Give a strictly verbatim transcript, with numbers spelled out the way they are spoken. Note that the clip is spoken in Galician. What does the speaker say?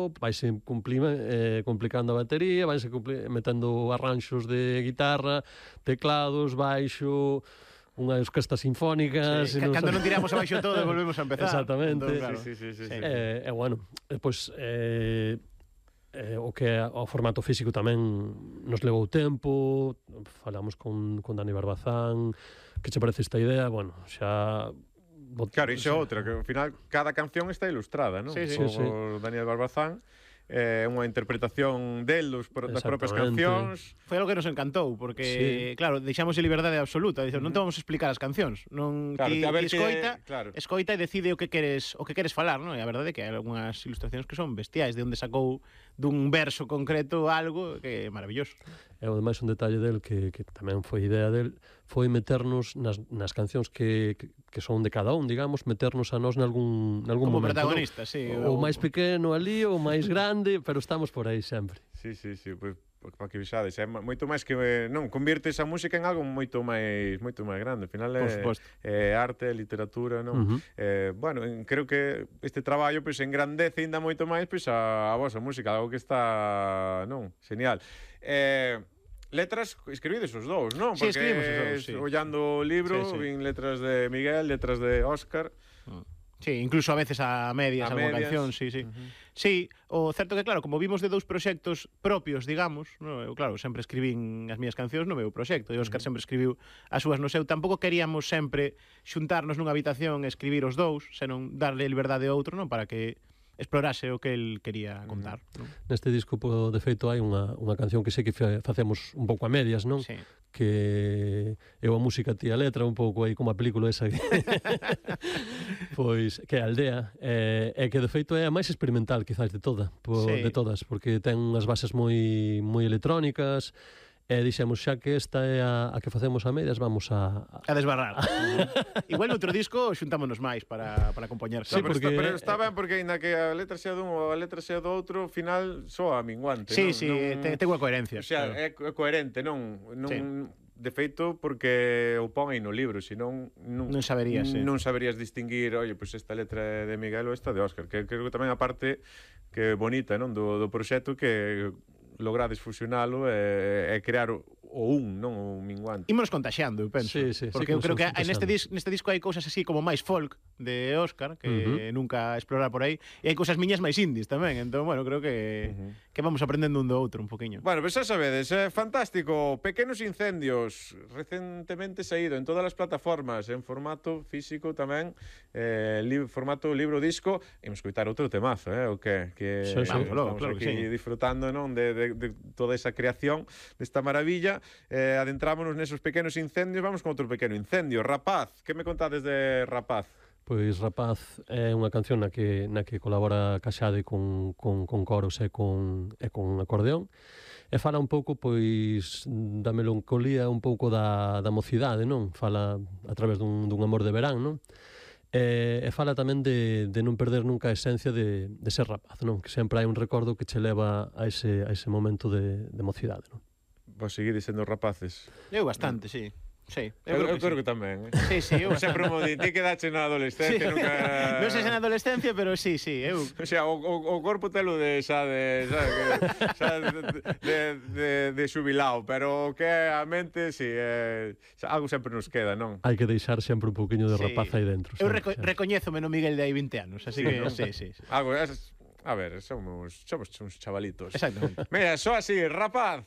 tempo, vaise eh, complicando a batería, vaise metendo arranxos de guitarra, teclados, baixo, unhas orquestas sinfónicas... Sí, cando non tiramos abaixo todo, volvemos a empezar. Exactamente. Entón, claro. Sí, sí, sí, sí, sí. E, eh, bueno, pois... Eh, Eh, o que o formato físico tamén nos levou tempo, falamos con, con Dani Barbazán, que che parece esta idea, bueno, xa... Claro, iso é outra, que ao final cada canción está ilustrada, non? Sí, sí. Por sí, sí. Daniel Barbazán, é eh, unha interpretación del dos, das propias cancións. Foi algo que nos encantou, porque, sí. claro, deixamos de liberdade absoluta, dixo, non te vamos a explicar as cancións, non claro, ti, a ver ti escoita, que, claro. escoita e decide o que queres, o que queres falar, non? E a verdade é que hai algunhas ilustracións que son bestiais, de onde sacou dun verso concreto algo que é maravilloso. E ademais un detalle del que, que tamén foi idea del, foi meternos nas, nas cancións que, que, que son de cada un, digamos, meternos a nós nalgún, nalgún como momento. Como protagonista, ¿no? Sí. O, o máis pequeno ali, o máis grande, pero estamos por aí sempre. Sí, sí, sí, pois para que vexades, é moito máis que non convirtes a música en algo moito máis moito máis grande, ao final é, é arte, é literatura, non? Uh-huh. Eh, bueno, creo que este traballo pois engrandece ainda moito máis pois a, a vosa música, algo que está, non, genial. Eh, letras escribides os dous, non? Sí, escribimos os dous, sí. Ollando o libro, sí, sí. Vin letras de Miguel, letras de Óscar. Uh. Sí, incluso a veces a medias, a alguna medias. Canción, sí, sí. Uh-huh. Sí, o certo que, claro, como vimos de dous proxectos propios, digamos, no, eu, claro, sempre escribín as miñas cancións no meu proxecto, e Óscar uh-huh. sempre escribiu as súas no seu. Tampouco queríamos sempre xuntarnos nunha habitación e escribir os dous, senón darle liberdade ao outro, non, para que explorase o que el quería contar. Uh-huh. Non? Neste disco, po, de feito, hai unha, unha canción que sei que facemos un pouco a medias, non? Sí. Que eu a música, ti a letra, un pouco aí como a película esa que... pois, que é a Aldea, e, e que de feito é a máis experimental, quizás, de toda, po, sí. de todas, porque ten unhas bases moi moi electrónicas, e dixemos, xa que esta é a, a que facemos a medias, vamos a... A, a desbarrar. Igual no outro disco xuntámonos máis para, para compoñer. Sí, no, pero, porque, está, pero está ben, porque ainda que a letra sea dun ou a letra sea do outro, ao final soa minguante. Sí, non? sí, non... ten, ten unha coherencia. O sea, claro. é coherente, non... non... Sí. De feito, porque o pon aí no libro, senón non, non saberías, sí. non saberías distinguir, oye, pois pues esta letra é de Miguel ou esta de Óscar, que creo que tamén a parte que é bonita, non, do, do proxecto, que logrades fusionalo e, e crear o, o un, non o minguante. Ímonos contaxeando, eu penso. Sí, sí, porque sí, eu creo que neste, dis, neste disco hai cousas así como máis folk de Óscar, que uh-huh. nunca explorar por aí, e hai cousas miñas máis indies tamén, entón, bueno, creo que uh-huh. que vamos aprendendo un do outro un poquinho. Bueno, pois pues xa sabedes, é fantástico, Pequenos Incendios, recentemente saído en todas as plataformas, en formato físico tamén, eh, li, formato libro-disco, e imos escoitar outro temazo, eh, o que, que sí, sí, vamos, claro, estamos claro aquí que sí. disfrutando, non, de, de, de toda esa creación desta maravilla. Eh, adentrámonos nesos pequenos incendios, vamos con outro pequeno incendio. Rapaz, que me contades de Rapaz? Pois Rapaz é unha canción na que, na que colabora Caxade con, con, con coros e con, e con acordeón, e fala un pouco pois da melancolía, un pouco da, da mocidade, non? Fala a través dun, dun amor de verán, non? E, e fala tamén de, de non perder nunca a esencia de, de ser rapaz, non? Que sempre hai un recordo que che leva a ese, a ese momento de, de mocidade, non? Vos seguides sendo rapaces? Eu bastante, sí. Sí, eu, eu, creo, eu que, creo sí. que tamén, eh? Sí, sí, eu sempre mo di, ti quedache na adolescencia, sí. nunca... Non sei se na adolescencia, pero sí, sí, eu... O sea, o, o, o corpo telo de xa de, xa de, xa de, de, de, de xubilao, pero que a mente, sí, eh, algo sempre nos queda, non? Hai que deixar sempre un pouquiño de sí. rapaz aí dentro. Eu reco recoñézome no Miguel de hai vinte anos, así sí, que, ¿no? sí, sí. sí. Algo, es, a ver, somos, somos uns chavalitos. Exactamente. Mira, só así, Rapaz.